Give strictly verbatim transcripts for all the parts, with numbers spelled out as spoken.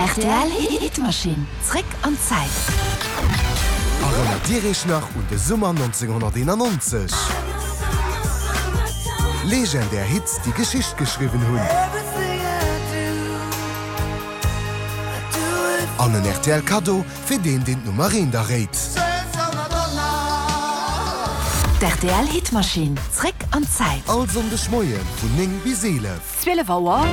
Rtl Hitmaschinn, zréck an d'Zäit. Erënnert Dir Iech nach un de Summer nonzénghonnerteenannonzeg? Legendär Hits, déi Geschicht geschriwwen hunn. An en rtl Kaddo fir deen, deen d'Nummer eent erréit. D'RTL Hitmaschinn, zréck an d'Zäit. All Sonndeg Moie vun néng bis eelef. Zwielef Auer.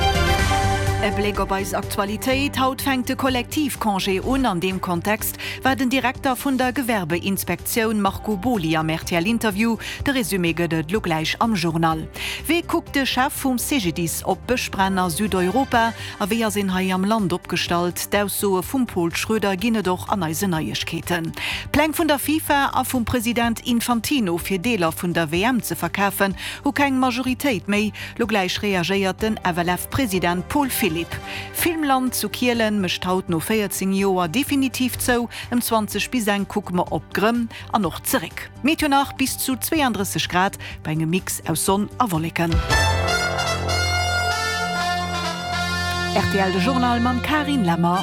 E Bléck op eis Aktualitéit, Haut fänkt de Kollektivcongé un. An deem Kontext war den Direkter vun der Gewerbeinspektioun Marco Boly am R T L-Interview. De Resumé gëtt et lo gläich am Journal. Wéi kuckt de Chef vum C G D I S op d'Bëschbränn a Südeuropa a wéi ass een hei am Land opgestallt? D'Aussoe vum Paul Schroeder ginn et och an eisen Neiegkeeten. D'Pläng vun der FIFA a vum President Infantino fir Deeler vun der W M ze verkafen, hu keng Majoritéit méi. Lo gläich reagéiert den F L F-President Paul Philipp. Filmland zu Kielen mécht haut no véierzéng Joer definitiv zou. Ëm zwanzeg bis eng kucke mer op d'Grënn an och zeréck. Meteo nach, bis zu zweeandrësseg Grad bei engem Mix aus Sonn a Wolleken. R T L de Journal mam Karin Lemmer.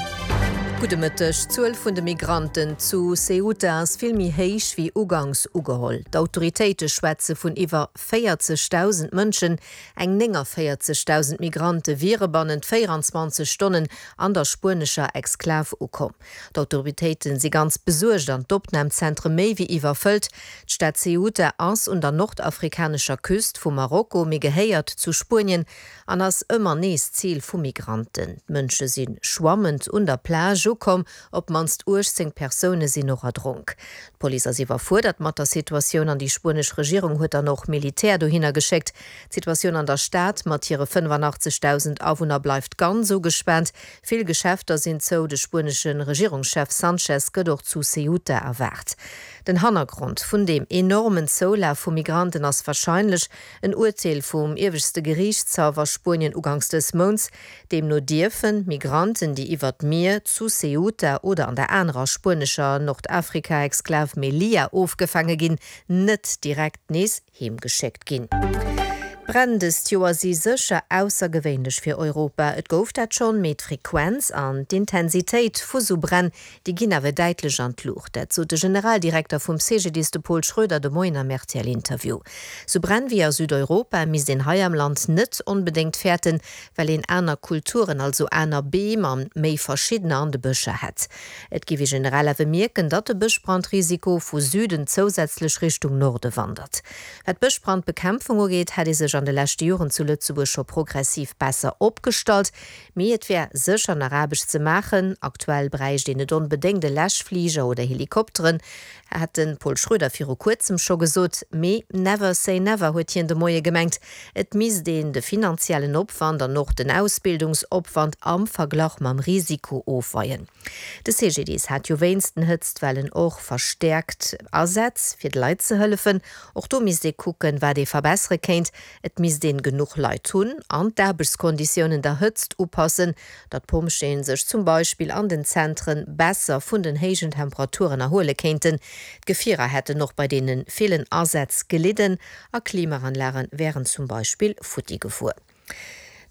Gudde Mëtteg. D'Zuel vun de Migranten zu Ceuta ass vill méi héich wéi ugangs ugeholl. D'Autoritéite schwätze vun iwwer véierzegdausend Mënschen. Eng néngavéierzegdausend Migrante wiere bannent véierenzwanzeg Stonnen an der spuenescher Exklav ukomm. D'Autoritéite si ganz besuergt an d'Opnamzentre méi wéi iwwerfëllt. D'Stad Ceuta ass un der nordafrikanescher Küst vu Marokko, mee gehéiert zu Spuenien an ass ëmmer nees Zil vu Migranten. D'Mënsche si schwammend un der Plage ukomm, op d'mannst uechtzéng Persoune sinn och erdronk. D'Police ass iwwerfuerdert mat der Situatioun an déi spuenesch Regierung huet dann och Militär dohinner geschéckt. D'Situatioun an der Stad mat hire fënnefanachtzeghdausend Awunner bleift ganz ugespaant. Vill Geschäfter sinn zou, de spuenesche Regierungschef Sanchez gëtt och zu Ceuta erwaart. Den Hannergrond vun deem enormen Zoulaf vu Migranten ass warscheinlech en Urteel vum ieweschte Geriichtshaff a Spuenien ugangs dës Mounts. Deemno dierfen Migranten, déi iwwer d'Mier zu Ceuta oder an der anerer spuenescher Nordafrika-Exklav Melilla ofgefaange ginn, net direkt nees heemgeschéckt ginn. D'Bränn dëst Joer si sécher aussergewéinlech fir Europa. Et gouf dat schonn, mee d'Frequenz an d'Intensitéit vu sou Bränn, déi ginn awer däitlech an d'Luucht. Dat sot de Generaldirekter vum C G D I S, de Paul Schroeder, de Moien am R T L-Interview. Sou Bränn wéi a Südeuropa misst een hei am Land net onbedéngt fäerten, well een aner Kulturen, also aner Beem an méi verschiddener an de Bëscher hätt. Et géif ee generell awer mierken, datt de Bëschbrandrisiko vu Süden zousätzlech Richtung Norde wandert. Wat d'Bëschbrandbekämpfung ugeet, hätt ee sech an de leschte Joren zu Lëtzebuerg scho progressiv besser opgestallt, mee et wär sécher nach Aarbecht ze maachen. Aktuell bräicht een net onbedéngt e Läschfliger oder Helikopteren, hat de Paul Schroeder viru kuerzem scho gesot. Mee never say never, huet hien de Moie gemengt. Et misst een de finanziellen Opwand an och den Ausbildungsopwand am Verglach mam Risiko ofweien. De C G D I S hat jo wéinst den Hëtztwellen och verstäerkt Asätz fir de Leit ze hëllefen. Och do misst ee kucken, wat ee verbessere kéint. Et misst een genuch Leit hunn an d'Aarbechtskonditiounen der Hëtzt upassen, datt d'Pompjeeën sech zum Beispill an den Zentren besser vun den héijen Temperaturen erhuele kéinten. D'Gefierer hätten och bei deene villen Asätz gelidden a Klimaanlage wären zum Beispill futti gefuer.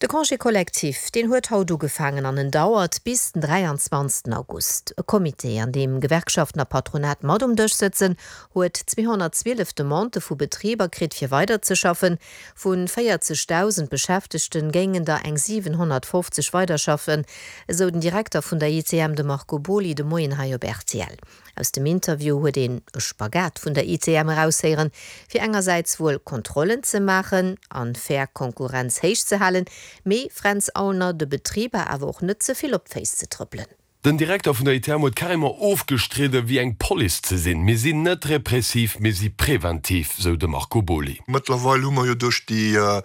De Congé collectif, deen huet haut ugefaangen an en dauert bis den dräianzwanzegsten August. E Comité, an deem Gewerkschaften a Patronat mat um Dësch sëtzen, huet zweehonnertzwielef Demandë vu Betriber kritt fir weiderzeschaffen. Vu véierzegdausend Beschäftegte géingen der eng siwenhonnertfofzeg weiderschaffen, esou den Direkter vun der I T M, de Marco Boly, de Moien hei op R T L. Aus dem Interview huet een e Spagat vun der I T M eraushéieren, fir engersäits wuel Kontrollen ze maachen an fair Konkurrenz héich ze halen, mee Fränz Aulner, de Betriber awer och net ze vill op d'Féiss ze trëppelen. Den Direkter vun der I T M huet carrément ofgestridden, wéi eng Police ze sinn. Mir sinn net repressiv, mir si preventiv, sou de Marco Boly. Mëttlerweil hu mer jo duerch déi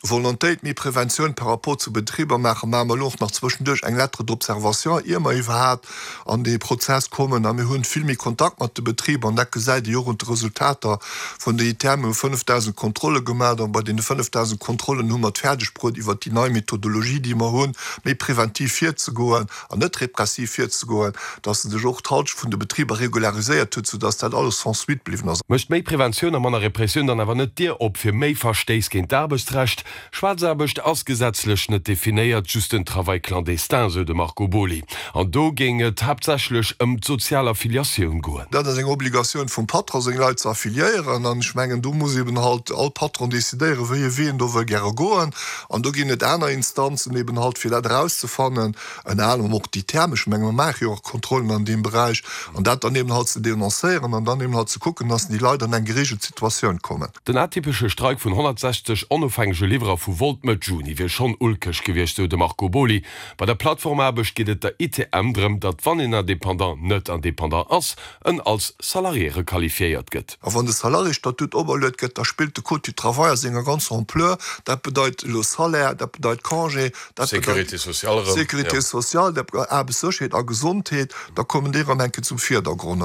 Volontéit méi Preventioun par rapport zu Betriber maachen, maache mer elo och nach zwëschenduerch eng Lettre d'observation, ier mer iwwerhaapt an dee Prozess kommen. A mir hunn vill méi Kontakt mat de Betriber an dat gesäit ee jo och un de Resultater vun der I T M. Mir hu fënnefdausend Kontrolle gemaach an bei deene fënnefdausend Kontrollen hu mer et fäerdeg bruet, iwwert déi nei Methodologie, déi mer hunn, méi preventiv virzegoen an net repressiv. repressiv virzegoen, dass e sech och d'Halschent vun de Betriber regulariséiert huet, soudass dat alles sans suite bliwwen ass. Mécht méi Preventioun a manner Repressioun dann awer net d'Dier op fir méi Verstéiss géint d'Aarbechtsrecht? Schwaarzaarbecht ass gesetzlech net definéiert, just den Travail clandestin, sou de Marco Boly. An do géing et haaptsächlech ëm d'sozial Affiliatioun goen. Dat ass eng Obligatioun vum Patron, seng Leit ze affiliéieren. An ech mengen, do muss eben halt all Patron decidéieren, wéi e Wee en do wëll gäre goen. An do ginn et aner Instanzen eben halt, fir dat erauszefannen, ënner anerem och déi Therme. Ech menge mer maache jo och Kontrollen an deem Beräich. An dat dann eben halt ze denoncéieren an dann eben halt ze kucken, dass déi Leit an eng geregelt Situatioun kommen. Den atypesche Streik vun honnertsechzeg onofhängege Liwwerer vu Wolt Mëtt Juni wier schonn ulkeg gewiescht, sou de Marco Boly. Bei der Plattformaarbecht geet et der I T M drëm, datt wann een Independant net Independant ass, en als Salarié requalifiéiert gëtt. A wann de Salarié-Statut operluet gëtt, da spillt de Code du travail a senger ganzer Ampleur. Dat bedeit elo Salaire, dat bedeit Congé, dat bedeit Sécurité sociale erëm, Sécurité sociale, dat bedeit Aarbechtssécherheet a Gesondheet. Da kommen déi erëm eng Kéier zum Virdergrond.